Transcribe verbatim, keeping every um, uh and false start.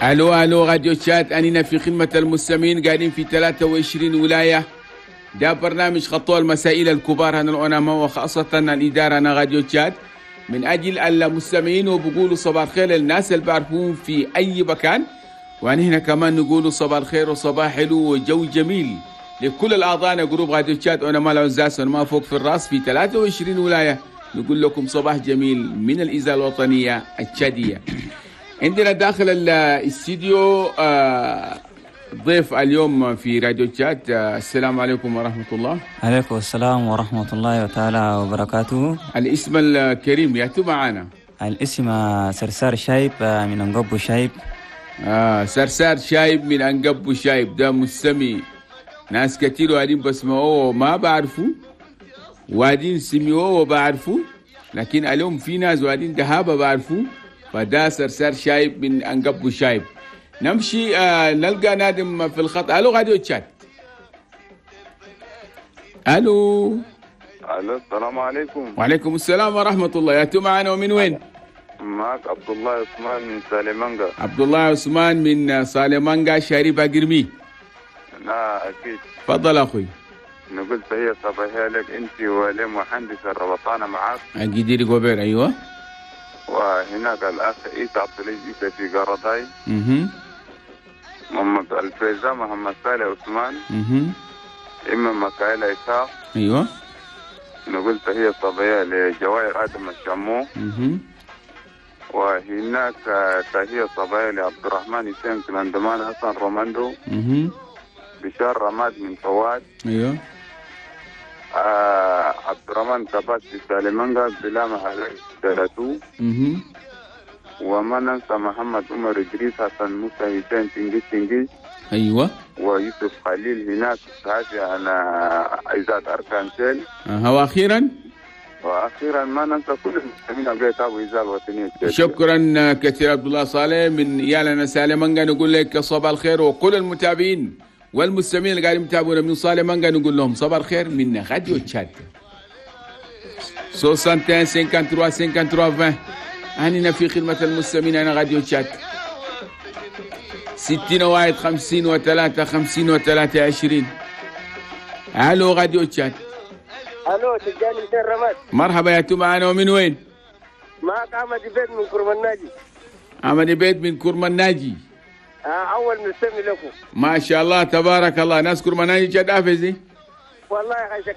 الو الو راديو تشاد، انينا في خدمة المستمعين، قاعدين في ثلاثة وعشرين ولايه. ده برنامج خطوة المسائل الكبار هنا العلماء وخاصة الادارة هنا راديو تشاد من اجل المستمعين، وبقولوا صباح الخير للناس اللي بعرفون في اي مكان. وهنا كمان نقولوا صباح الخير وصباح حلو وجو جميل لكل الاعضاء groupe راديو تشاد علماء العزاز ما فوق في الراس في ثلاثة وعشرين ولايه. نقول لكم صباح جميل من الاذاعة الوطنية التشاديه. عندنا داخل الاستديو آه، ضيف اليوم في راديو تشاد. آه، السلام عليكم ورحمة الله. عليكم السلام ورحمة الله تعالى وبركاته. الاسم الكريم ياتو معانا؟ الاسم سرسار شايب من أنقبو شايب. آه سرسار شايب من أنقبو شايب، ده مستمع ناس كتير وادين بسمعوه وما بعرفوا، وادين سمعوه وبعرفوا، لكن اليوم في ناس وادين دهابة بعرفوا. فده سرسار شايب من أنقبو شايب. نمشي آه نلقى نادم في الخط. الو راديو تشاد، الو. الو، السلام عليكم. وعليكم السلام ورحمة الله، يا معنا ومن وين؟ معك عبد الله عثمان من سالمانجا. عبد الله عثمان من سالمانجا شاري باقرمي. لا اكيد. تفضل اخوي. نقول تحية صباحية لك انت ولمهندس الربطانة معك. اجديري جوبير، ايوه. وهناك الاخ عيسى عبد العزيز عيسى في قرطاي. اها محمد الفيزا محمد صالح عثمان. اها إما مكايل إسحاق. ايوه نقول تحية صباحية لجواهر آدم الشمو. اها وهناك تحية صباحية لعبد الرحمن حسين كلاندمان حسن روماندو. اها بشار رماد من فواد. ايوه آه عبد الرحمن كباس في سالمانجا بلا محل ثلاثو. اها وما ننسى محمد عمر إدريس حسن موسى حسين تنجيز تنجيز. ايوه ويوسف خليل هناك صحفي على إذاعة أركانسيل. أها واخيرا؟ واخيرا ما ننسى كل المستمعين اللي يتابعوا اذاعة الوطنية التشاديه. شكرا كثير عبد الله صالح من يالنا سالمانجا، نقول لك صباح الخير، وكل المتابعين والمستمعين اللي قاعدين يتابعونا من سالمانجا نقول لهم صباح الخير من راديو تشاد. واحد وستين ثلاثة وخمسين ثلاثة وخمسين عشرين، أننا في خدمة المستمعين أنا راديو تشاد. ستين واحد خمسين وثلاثة خمسين وثلاثة عشرين. الو راديو تشاد. الو، تجاني حسين رماد. مرحبا، يا معنا ومن وين؟ معك احمد بيت من كرم الناجي. احمد بيت من كرم الناجي. آه اول مستمع لكم. ما شاء الله تبارك الله، ناس كرم الناجي جد افزي. والله يا اخي.